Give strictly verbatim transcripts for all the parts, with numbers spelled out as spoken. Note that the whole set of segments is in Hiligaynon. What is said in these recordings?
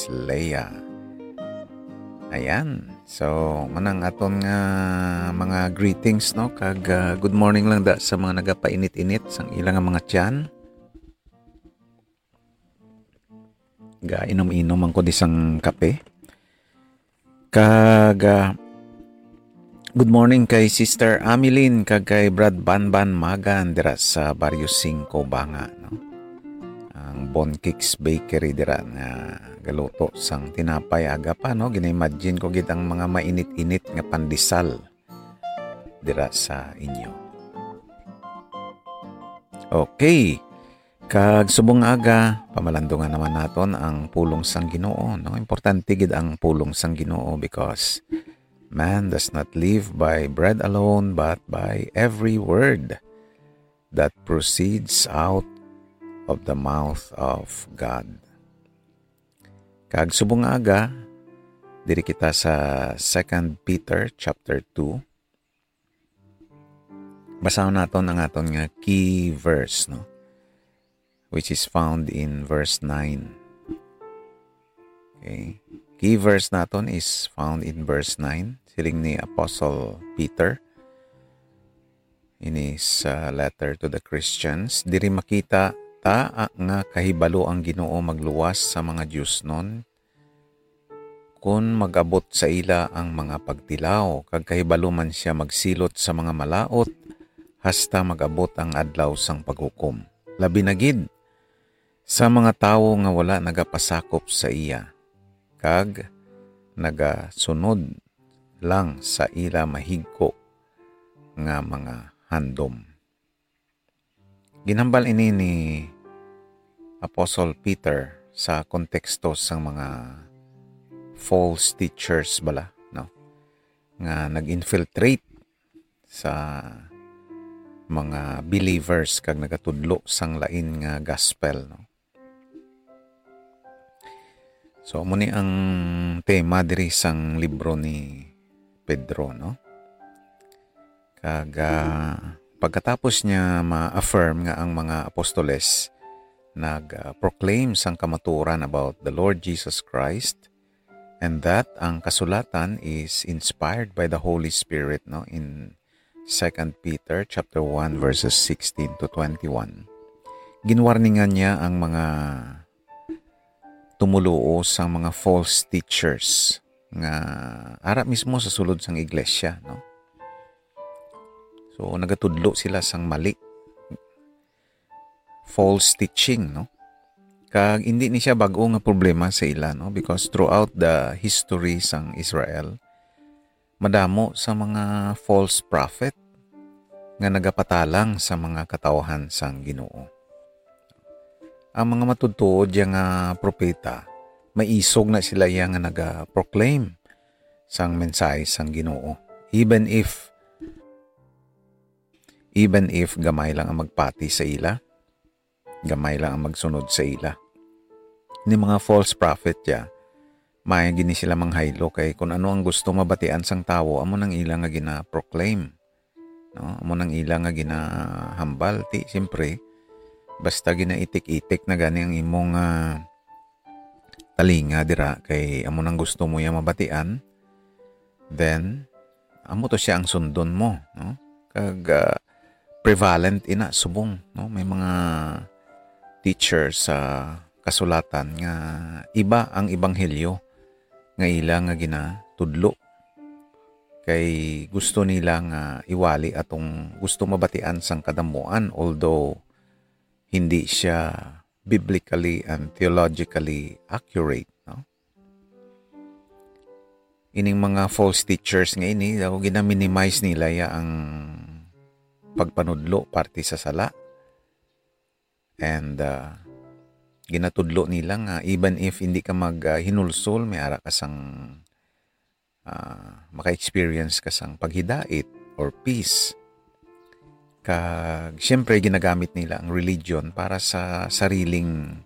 Leia. Ayan. So, manang aton nga mga greetings, no? Kag, ah, good morning lang da sa mga nagapainit-init sang ila nga mga tiyan. Gainom-inom man ko di sang kape. Kag, ah, good morning kay Sister Amilin kag kay Brad Banban Magan dira sa Barrio Cinco, Banga, no? Ang Bon Cakes Bakery dira nga galuto sang tinapay aga pa, no? Gina-imagine ko gid ang mga mainit-init nga pandesal dira sa inyo. Okay. Kag subong nga aga, pamalandungan naman naton ang pulong sang Ginoo, no? Importante gid ang pulong sang Ginoo because man does not live by bread alone, but by every word that proceeds out of the mouth of God. Kag subong nga aga, diri kita sa Second Peter chapter two. Basahon naton ang aton nga key verse, no? Which is found in verse nine. Okay. Key verse naton is found in verse nine. Siling ni Apostle Peter in his, uh, letter to the Christians, "Diri makita ta, ah, nga kahibalo ang Ginoo magluwas sa mga diosnon, kon mag-abot sa ila ang mga pagtilaw, kag kahibalo man sia magsilot sa mga malaut, hasta mag-abot ang adlaw sang paghukom. Labi na gid sa mga tawo nga wala nagapasakop sa iya, kag nagasunod lang sa ila mahigko nga mga handom." Ginhambal ini ni Apostle Peter sa konteksto sang mga false teachers bala, no? Nga nag-infiltrate sa mga believers kag nagatudlo sang lain nga gospel, no? So, amo ni ang tema diri sang libro ni Pedro, no? Kag, ah, pagkatapos niya ma-affirm nga ang mga apostoles nag, ah, proclaim sang kamatuoran about the Lord Jesus Christ, and that ang kasulatan is inspired by the Holy Spirit, no, in Second Peter chapter one, verses sixteen to twenty-one. Ginwarningan niya ang mga tumoluo sang mga false teachers nga ara mismo sa sulod sang iglesia, no? So, nagatudlo sila sang mali, false teaching, no? Kag indi ni siya bag-o nga problema sa ila, no? Because throughout the history sang Israel, madamo sa mga false prophet nga nagapatalang sa mga katawhan sang Ginoo. Ang mga matutuod ya nga propeta, maisog na sila ya nga naga-proclaim sang mensahe sang Ginoo, even if, even if gamay lang ang magpati sa ila, gamay lang ang magsunod sa ila. Ni mga false prophet ya, may gini sila manghaylo kay kun ano ang gusto mabatian sang tawo, amo nang ila nga gina-proclaim. No? Amo nang ila nga ginahambal. Ti, siyempre, basta ginaitik-itik na gani ang imong, ah, talinga dira kay amo nang gusto mo ya mabatian, then amo to siya ang sundon mo, no? Kag, ah, prevalent ina subong, no? May mga teacher sa kasulatan nga iba ang ebanghelyo nga ila nga ginatudlo. Kay gusto nila nga iwali atong gusto mabatian sang kadamuan, although hindi siya biblically and theologically accurate, no? Ining mga false teachers nga ini, daw gina-minimize nila ya ang pagpanudlo parte sa sala. And, ah, ginatudlo nila nga even if hindi ka mag, ah, hinulsol, may ara ka sang, ah, maka-experience ka sang paghidait or peace. Kag, siyempre, ginagamit nila ang religion para sa sariling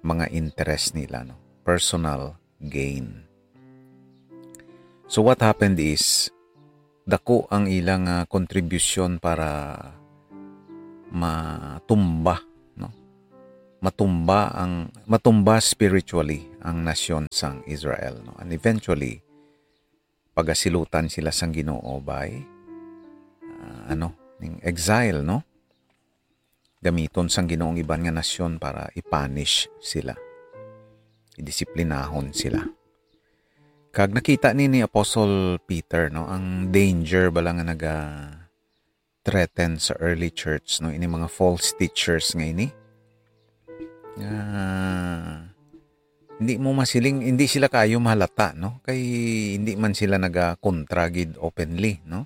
mga interest nila, no? Personal gain. So, what happened is, dako ang ilang, ah, kontribusyon para matumba, no? matumba ang, matumba spiritually ang nasyon sang Israel, no? And eventually, pagasilutan sila sang Ginoo by, ah, ano, ning exile, no? Gamiton sang Ginoo ang iban nga nasyon para i-punish sila, idisiplinahon sila. Kag nakita ni, ni Apostle Peter, no, ang danger bala nga naga-threaten sa early church, no, ini mga false teachers nga ini. Nga hindi mo masiling, hindi sila kayo mahalata, no? Kay hindi man sila nagakontra gid openly, no?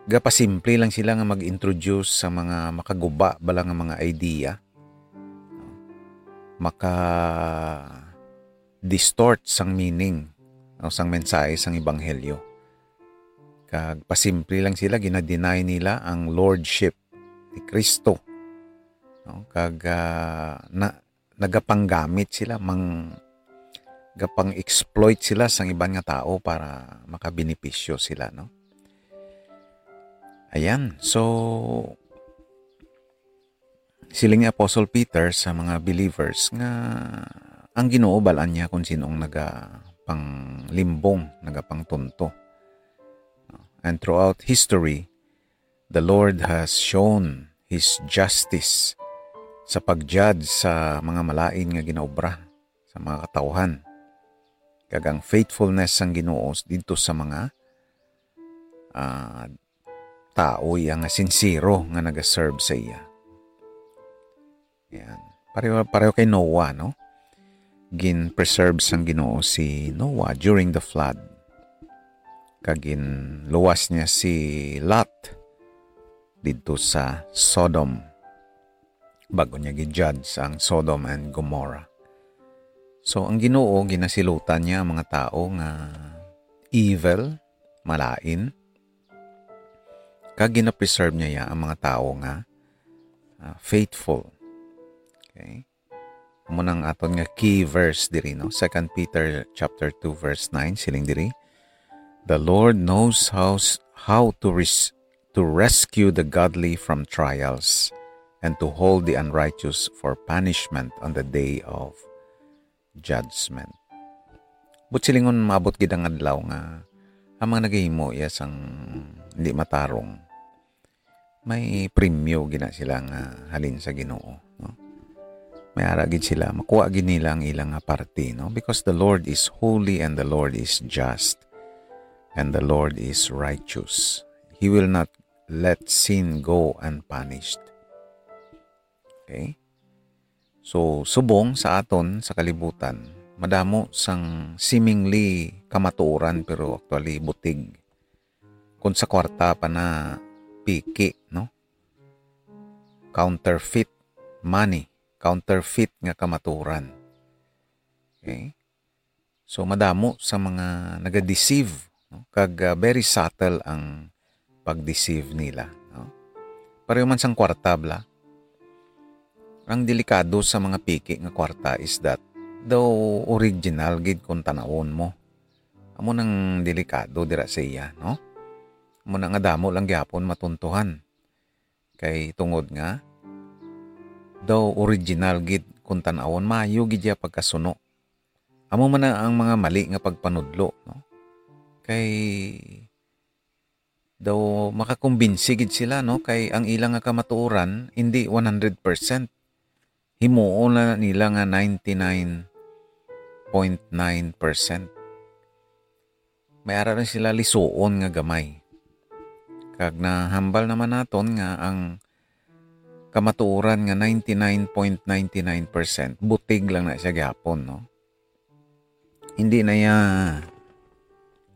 Gapasimple lang sila nga mag-introduce sa mga makaguba bala nga mga idea, no? Maka-distort sang meaning, no, sang mensahe sang ebanghelyo. Kag pasimple lang sila, gina-deny nila ang lordship ni Kristo, no? Kag, ah, na, nagapanggamit sila, mang-, gapang-exploit sila sang iban nga tao para makabenepisyo sila, no? Ayan. So, siling ni Apostle Peter sa mga believers nga ang Ginoo bal-an niya kung sino ang nagapanglimbong, nagapangtunto. And throughout history, the Lord has shown His justice sa pag-judge sa mga malain nga ginaobra sa mga katawhan, kag ang faithfulness sang Ginoo didto sa mga, ah, tao iya nga sincero nga nagaserve sa iya. Yan. Pareho, pareho kay Noah, no? Gin-preserve sang Ginoo si Noah during the flood. Kag ginluwas niya si Lot didto sa Sodom, bago niya gi-judge ang Sodom and Gomorrah. So, ang Ginoo, ginasilutan niya ang mga tao nga evil, malain, kag gina-preserve niya ya ang mga tao nga, ah, faithful. Okay? Amo nang aton nga key verse diri, no? Second Peter chapter two verse nine, siling diri, "The Lord knows how s-, how to res-, to rescue the godly from trials, and to hold the unrighteous for punishment on the day of judgment." But silingon, maabot gid ang adlaw nga ang mga nagahimo iya sang hindi matarong, may premyo gina sila nga halin sa Ginoo, no? May ara gid sila, makuha gid nila ang ilang nga parte, no? Because the Lord is holy and the Lord is just and the Lord is righteous. He will not let sin go unpunished. Okay? So, subong sa aton sa kalibutan, madamo sang seemingly kamatuoran pero actually butig. Kung sa kwarta pa na piki, no? Counterfeit money, counterfeit nga kamatuoran. Okay? So, madamo sa mga naga-deceive, no? Kag, ah, very subtle ang pag-deceive nila, no? Pareho man sang kwarta, bala. Ang delikado sa mga piki nga kwarta is that daw original gid kung tan-awon mo. Amo nang delikado dira sa iya, no? Amo na nga damo lang gyapon matuntuhan. Kay tungod nga daw original gid kung tan-awon, maayo gid iya pagkasuno. Amo man na ang mga mali nga pagpanudlo, no? Kay daw makakumbinsi gid sila, no? Kay ang ila nga kamatuoran indi one hundred percent. Himuon na nila nga ninety-nine point nine percent. May ara na sila lisuon nga gamay. Kag nahambal naman naton nga ang kamatuoran nga ninety-nine point ninety-nine percent, butig lang na siya gyapon, no? Hindi na iya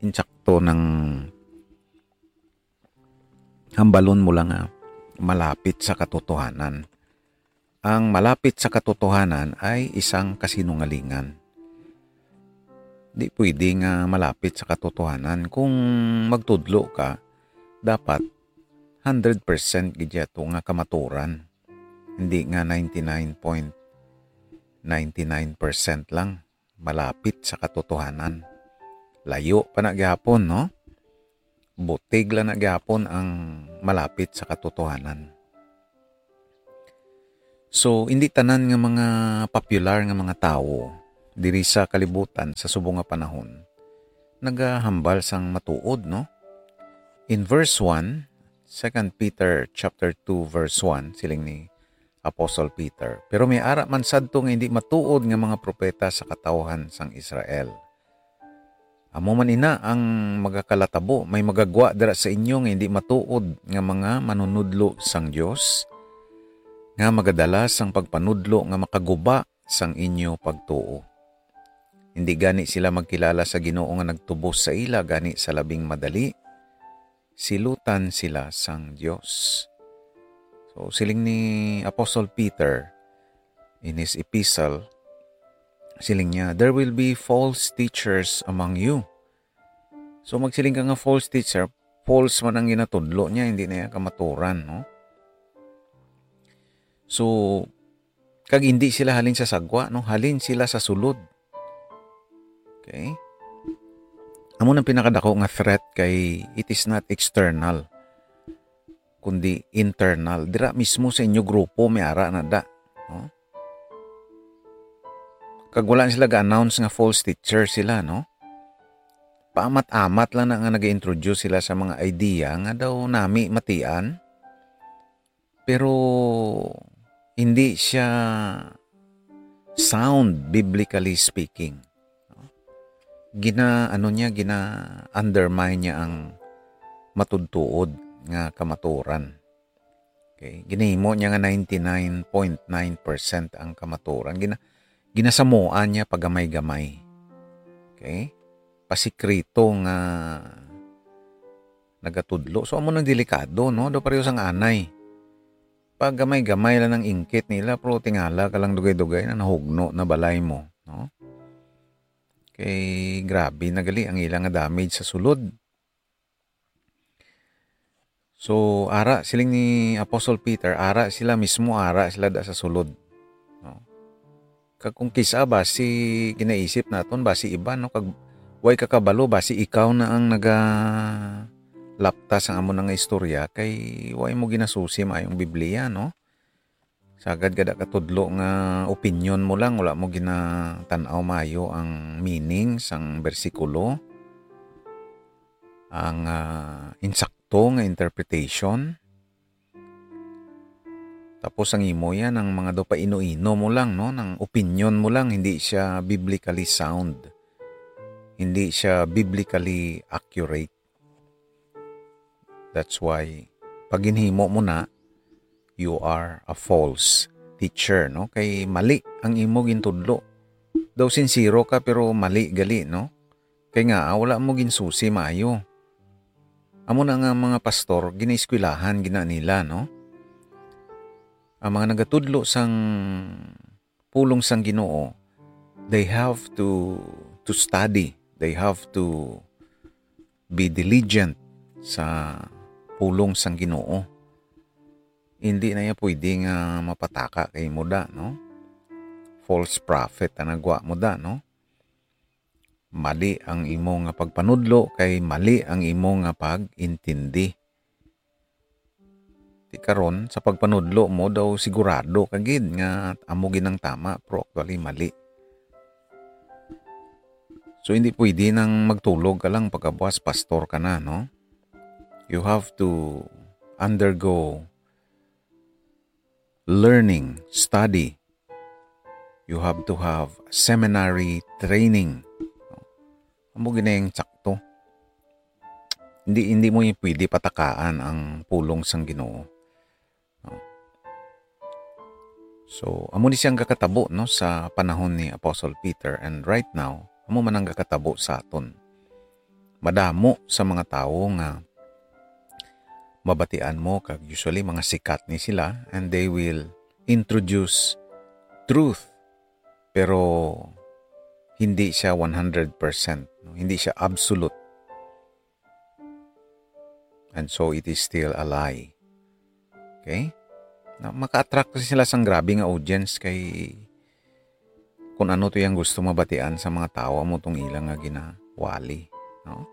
insakto nang hambalon mo lang nga malapit sa katotohanan. Ang malapit sa katotohanan ay isang kasinungalingan. Di pwede nga malapit sa katotohanan. Kung magtudlo ka, dapat hundred percent gid yato nga kamaturan. Hindi nga ninety-nine point ninety-nine percent lang malapit sa katotohanan. Layo pa na gyapon, no? Butig lang na gyapon ang malapit sa katotohanan. So, hindi tanan nga mga popular nga mga tawo diri sa kalibutan sa subong nga panahon nagahambal sang matuod, no? In verse one, Second Peter chapter two, verse one, siling ni Apostle Peter, "Pero may ara man sadto nga hindi matuod nga mga propeta sa katawhan sang Israel." Amo man ina ang magakalatabo, may magagwa dira sa inyo nga hindi matuod nga mga manunudlo sang Dios, nga magadala sang pagpanudlo nga makaguba sang inyo pagtuo. Hindi gani sila magkilala sa Ginoo nga nagtubos sa ila, gani sa labing madali, silutan sila sang Dios. So, siling ni Apostle Peter in his epistle, siling niya, "There will be false teachers among you." So, magsiling ka nga false teacher, false man ang ginatudlo niya, hindi na iya kamaturan, no? So, kag hindi sila halin sa sagwa, no? Halin sila sa sulod. Okay? Amo nang pinakadako nga threat kay it is not external, kundi internal. Dira mismo sa inyo grupo, may ara na da. No? Kag wala na sila ga-announce nga false teacher sila, no? Paamat-amat lang na nga nag-introduce sila sa mga idea nga daw nami matian, pero hindi siya sound, biblically speaking. Gina, ano niya, gina-undermine niya ang matudtuod nga kamaturan. Okay? Ginahimo niya nga ninety-nine point nine percent ang kamaturan. Gina-, ginasamuan niya pagamay-gamay. Okay? Pasikreto nga nagatudlo. So, amo nang delikado, no? Daw pareho sang anay. Pagamay-gamay lang ang ingkit nila, pero tingala ka lang dugay-dugay na nahugno na balay mo, no? Kay grabe na gali ang ila nga damage sa sulod. So, ara, siling ni Apostle Peter, ara sila mismo, ara sila da sa sulod. No? Kag kung kis-a, basi ginaisip naton, basi iban, no? Kag way ka kabalo, basi ikaw na ang nagalapta sa amo na nga istorya, kay way mo ginasusi maayong Biblia, no? Sagad kada katudlo nga opinyon mo lang, wala mo ginatan-aw maayo ang meaning sang bersikulo, ang, ah, insakto nga interpretation. Tapos ang imo yan, ang mga daw paino-ino mo lang, no? Nang opinyon mo lang, hindi siya biblically sound. Hindi siya biblically accurate. That's why, pag ginhimo mo na, you are a false teacher, no? Kay mali ang imo gintudlo. Daw sinsero ka, pero mali gali, no? Kay nga, ah, wala mo ginsusi maayo. Amo na nga mga pastor, ginaeskwelahan gina nila, no? Ang mga nagatudlo sang pulong sang Ginoo, they have to, to study. They have to be diligent sa pulong sang Ginoo. Hindi na iya pwede nga mapataka kay mo da, no? False prophet ang nagwa mo da, no? Mali ang imo nga pagpanudlo, kay mali ang imo nga pag-intindi. Ti karon, sa pagpanudlo mo daw, sigurado ka gid nga amo gid ang tama, pero actually mali. So, hindi pwede nang magtulog ka lang pagkabuas pastor ka na, no? You have to undergo learning, study. You have to have seminary training. Amo gid na yung sakto. Hindi, hindi mo yung pwede patakaan ang pulong sang Ginoo. No? So, amo ni siyang gakatabo, no, sa panahon ni Apostle Peter, and right now, amo man ang gakatabo sa aton. Madamo sa mga tawo nga mabatian mo, kag usually mga sikat ni sila, and they will introduce truth, pero hindi siya one hundred percent, no? Hindi siya absolute. And so it is still a lie. Okay? Na maka-attract kasi sila sang grabe nga audience kay kung ano to yung gusto mabatian sa mga tawo, amo tong ilang nga ginawali, no?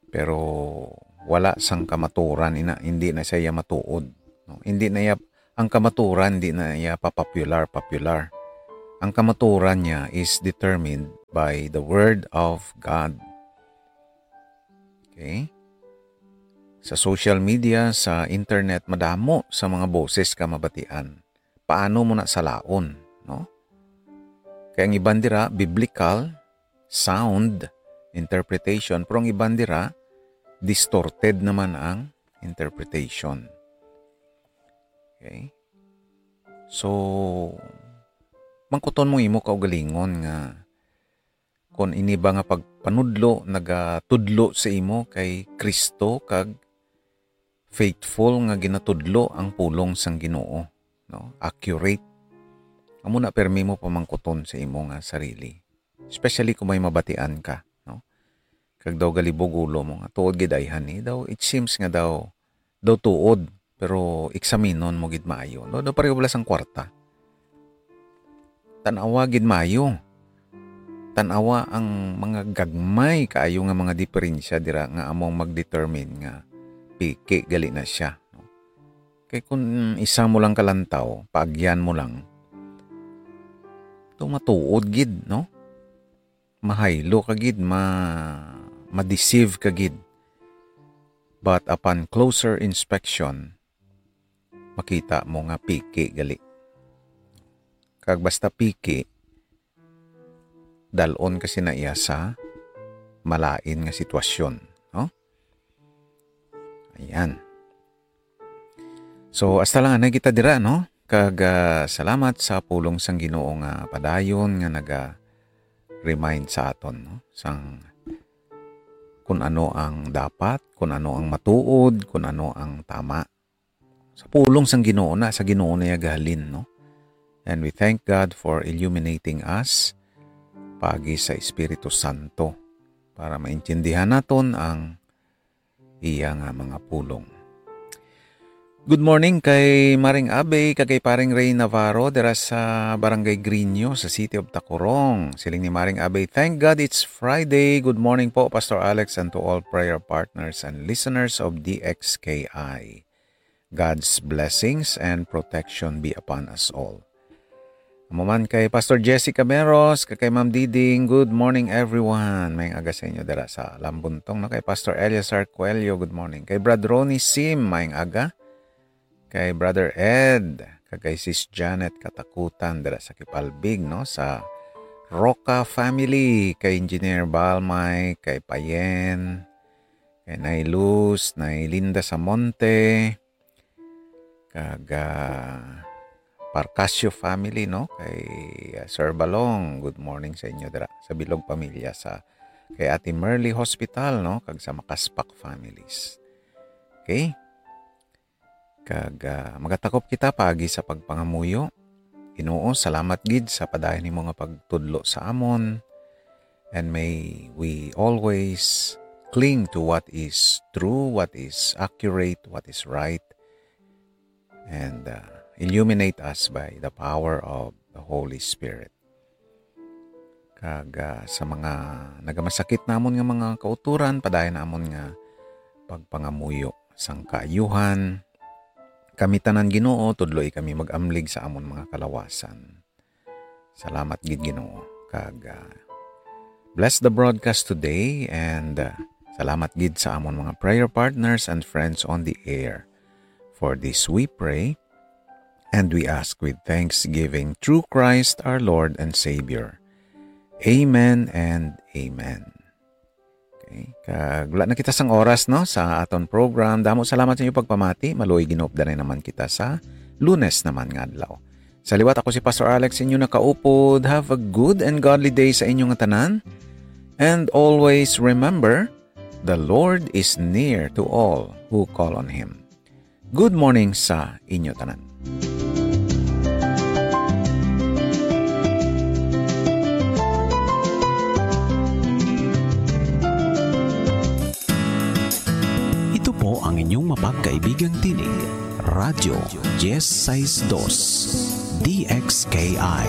Pero wala sang kamaturan ina, hindi na siya matuod, no? Hindi na iya Ang kamaturan di na iya pa-popular, popular. Ang kamaturan niya is determined by the Word of God. Okay? Sa social media, sa internet, madamo sa mga boses ka mabatian. Paano mo na salaon, no? Kay ang iban dira, biblical, sound interpretation, pero ang iban dira, distorted naman ang interpretation. Okay? So, mangkuton mo imo kaugalingon nga kung ini ba nga pagpanudlo nagatudlo sa imo kay Kristo kag faithful nga ginatudlo ang pulong sang Ginoo, no? Accurate. Amo na permi mo pamangkuton sa imo nga sarili. Especially kung may mabatian ka, no? Kag daw galibog ulo mo nga, "Tuod gid ayhan ni." Daw, it seems nga daw, daw tuod, pero eksaminon mo gid maayo. No, daw pareho bala sang kwarta. Tan-awa gid maayo. Tan-awa ang mga gagmay kaayo nga mga diferensya dira nga among mag-determine nga piki gali na siya, no? Kay kun isa mo lang kalantaw, paagyan mo lang, daw matuod gid, no? Mahaylo ka gid, ma-, ma-deceive ka gid. But upon closer inspection, makita mo nga piki gali. Kag basta piki, dal-on ka sina iya sa malain nga sitwasyon, no? Ayan. So, hasta lang anay kita dira, no? Kag, ah, salamat sa pulong sang Ginoo nga padayon nga naga-remind sa aton, no? Sang kun ano ang dapat, kun ano ang matuod, kun ano ang tama. Sa pulong sang Ginoo na, sa Ginoo na iya gahalin, no? And we thank God for illuminating us paagi sa Espiritu Santo para maintindihan naton ang iya nga mga pulong. Good morning kay Maring Abe kag kay Paring Ray Navarro dira sa Barangay Grino sa City of Tacurong. Siling ni Maring Abe, "Thank God it's Friday. Good morning po, Pastor Alex, and to all prayer partners and listeners of D X K I. God's blessings and protection be upon us all." Amo man kay Pastor Jesse Cameros, kag kay Ma'am Diding, good morning everyone. May aga sa inyo dira sa Lambuntong, no? Kay Pastor Elias Arcuello, good morning. Kay Brad Ronnie Sim, may aga. Kay Brother Ed, kag kay Sis Janet Katakutan dira sa Kipalbig, no? Sa Roca family, kay Engineer Balmay, kay Payen, kay Nay Luz, Nay Linda Samonte, kag, ah, Parcasio family, no? Kay, ah, Sir Balong, good morning sa inyo dira sa Bilog pamilya, sa kay Ate Merly Hospital, no? Kag sa Makaspak families. Okay? Kag, ah, magatakop kita paagi sa pagpangamuyo. Ginoo, salamat gid sa padayon nimo nga pagtudlo sa amon. And may we always cling to what is true, what is accurate, what is right, and, uh, illuminate us by the power of the Holy Spirit. Kag, uh, sa mga nagamasakit namon nga mga kauturan, padayon namon nga pagpangamuyo sang kaayuhan. Kami tanan, Ginoo, tudloi kami mag-amlig sa amon mga kalawasan. Salamat gid, Ginoo, kag, ah, bless the broadcast today, and, ah, salamat gid sa amon mga prayer partners and friends on the air. For this we pray, and we ask with thanksgiving through Christ our Lord and Savior. Amen and amen. Okay. Kag wala na kita sang oras, no, sa aton program. Damo salamat sa inyo pagpamati. Maluoy ginupda na naman kita sa Lunes naman nga adlaw. Sa liwat, ako si Pastor Alex, inyo nakaupod. Have a good and godly day sa inyo nga tanan. And always remember, the Lord is near to all who call on Him. Good morning sa inyo tanan. Ito po ang inyong mapagkaibigang tinig, Radyo Diez Seis Dos, D X K I.